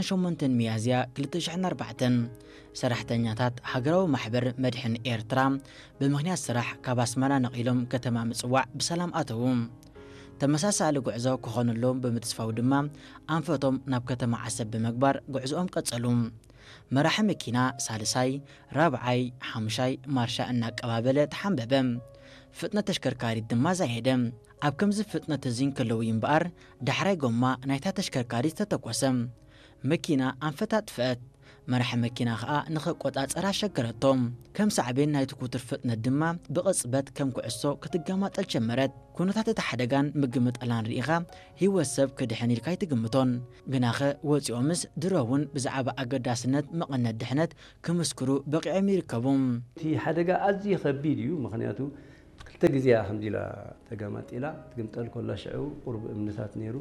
ሸሞንተን ሚያዝያ ክልተ ሽሕን ኣርባዕተን ሰራሕተኛታት ሃገራዊ ማሕበር መድሕን ኤርትራ ብምኽንያት ስራሕ ካብ ኣስመራ ነቒሎም ከተማ ምጽዋዕ ብሰላም ኣተዉ። ተመሳሳሊ ጉዕዞ ክኾነሎም ብምትስፋው ድማ ኣንፈቶም ናብ ከተማ ዓሰብ ብምግባር ጉዕዞኦም ቀጸሉ። መራሒ መኪና ሳልሳይ፣ ራብዓይ፣ ሓሙሻይ ማርሻ እናቀባበለ ተሓንበበ። ፍጥነት ተሽከርካሪት ድማ ዛየደ። ኣብ ከምዚ ፍጥነት እዚ እንከለዉ እዩ እምበኣር ዳሕራይ ጎማ ናይታ ተሽከርካሪት ዝተተኮሰ። መኪና ኣንፈታ ኣጥፍአት። መራሒ መኪና ኸኣ ንኽቆጻጸራ ኣሸገረቶ። ከም ሳዕቤን ናይቲ ክቱር ፍጥነት ድማ ብቕጽበት ከም ኩዕሶ ክትገማጠል ጀመረት። ኩነታት እቲ ሓደጋን ምግምጣላን ርኢኻ ህይወት ሰብ ክድሕን ኢልካ ኣይትግምቶን። ግናኸ ወጺኦምስ ድሮ እውን ብዛዕባ ኣገዳስነት መቐነት ድሕነት ክምስክሩ በቒዖም ይርከቡ። እቲ ሓደጋ ኣዝዩ ከቢድ እዩ። ምኽንያቱ ክልተ ግዜ እያ ከምዚ ኢላ ተገማጢላ። ትግምጠል ከላ ሽዑ ቁሩብ እምንታት ነይሩ።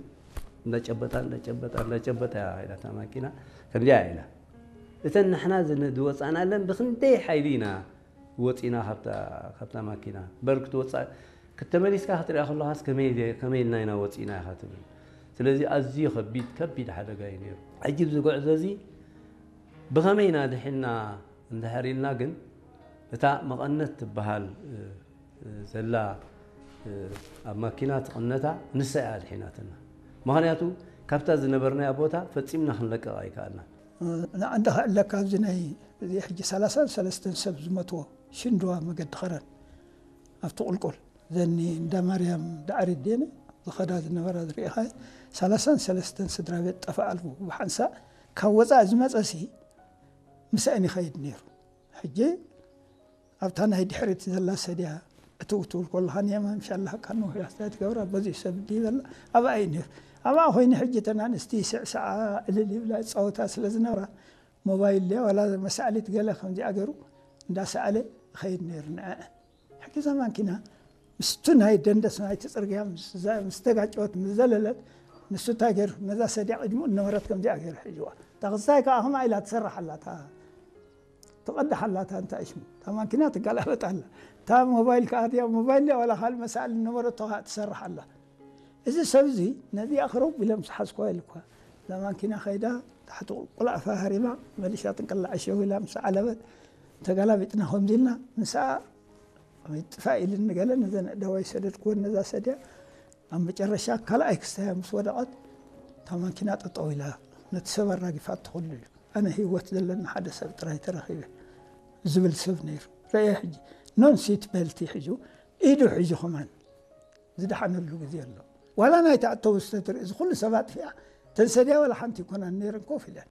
እንዳጨበጣ እንዳጨበጣ እንዳጨበጣ እያ ኢላ እታ ማኪና ከምዚኣ ኢላ። እተን ንሕና ዝነ- ዝወፃእናለን ብክንደይ ሓይሊ ኢና ወፂና ካብታ ካብታ ማኪና። በር ክትወፃእ፣ ከተመሊስካ ክትሪኣ ከለኻስ ከመይ ከመይ ኢልና ኢና ወፂና ኢኻ ትብል። ስለዚ ኣዝዩ ከቢድ ከቢድ ሓደጋ እዩ ነይሩ። ሕጂ ኣብዚ ጉዕዞ እዚ ብኸመይ ኢና ድሒና እንድሕር ኢልና ግን እታ መቐነት ትበሃል ዘላ ኣብ ማኪና ትቕነታ ንሳ እያ ኣድሒናትና። ምኽንያቱ ካብታ ዝነበርናያ ቦታ ፈጺምና ክንለቅቕ ኣይከኣልናን። ንዓንዲ ከዕለካ ኣብዚ ናይ እዚ ሕጂ ሰላሳን ሰለስተን ሰብ ዝመትዎ ሽንድዋ መገዲ ኸረን ኣብቲ ቁልቁል ዘኒ እንዳ ማርያም ዳዕሪት ድየን ዝኸዳ ዝነበራ ዝርኢኻ ሰላሳን ሰለስተን ስድራ ቤት ጠፋ ኣልቡ ብሓንሳእ ካብ ወፃእ ዝመፀሲ ምስአን ይኸይድ ነይሩ። ሕጂ ኣብታ ናይ ድሕሪት ዘላ ሰድያ እትው ትብል ከለኻ ንየማን ሻላካ ንውሕ ያስታ ትገብራ በዚ ሰብ እንዲ በላ ኣብኣ እዩ ነይሩ። ኣብኣ ኮይኑ ሕጂ እተን ኣንስቲ ስዕስዓ እልል ይብላ ይፃወታ ስለ ዝነበራ ሞባይል ድያ ዋላ መሳዕሊት ገለ ከምዚኣ ገይሩ እንዳሰኣለ ይኸይድ ነይሩ ንዐ ሕጂ እዛ ማኪና ምስቱ ናይ ደንደስ ናይቲ ፅርግያ ምስ ተጋጨወት ምስ ዘለለት ንሱ እንታይ ገይሩ ነዛ ሰድያ ቅድሚኡ ነበረት ከምዚኣ ገይሩ ሕጅዋ እታ ክስታይ ከዓ ከምኣ ኢላ ትሰርሕ ኣላ እታ ትቐድሕ ኣላ እታ እንታይ ሽሙ እታ ማኪና ትገላበጥ ኣላ እታ ሞባይል ከዓ ድያ ሞባይል ድያ ዋላ ካልእ መሳእሊ ነበረቶ ከዓ ትሰርሕ ኣላ እዚ ሰብ እዚ ነዚኣ ክረቡ ኢለ ምስ ሓዝኳ ኢሉ እኳ እዛ ማኪና ከይዳ ታሕቲ ቁልኣፋ ሃሪማ መሊሻ ጥንቅላዕ ሸው ኢላ ምስ ዓለበት ተገላቢጥና ከምዚ ኢልና ምስኣ ጥፋእ ኢልኒ ገለ ነዘን ኣእዳወይ ሰደድክወን ነዛ ሰድያ ኣብ መጨረሻ ካልኣይ ክስታያ ምስ ወደቐት እታ ማኪና ጠጠው ኢላ ነቲ ሰብ ኣራጊፋ ትኸሉ እዩ ኣነ ህይወት ዘለኒ ሓደ ሰብ ጥራይ ተረኺበ ዝብል ሰብ ነይሩ ረየ ሕጂ ኖን ሲት ቤልቲ ሒዙ ኢዱ ሒዙ ከማን ዝደሓነሉ ግዜ ኣሎ ዋላ ናይ ተኣተው ዝተትርኢ እዚ ኩሉ ሰብ ኣጥፊኣ ተንሰድያ ዋላ ሓንቲ ይኮናን ነይረን ኮፍ ኢለን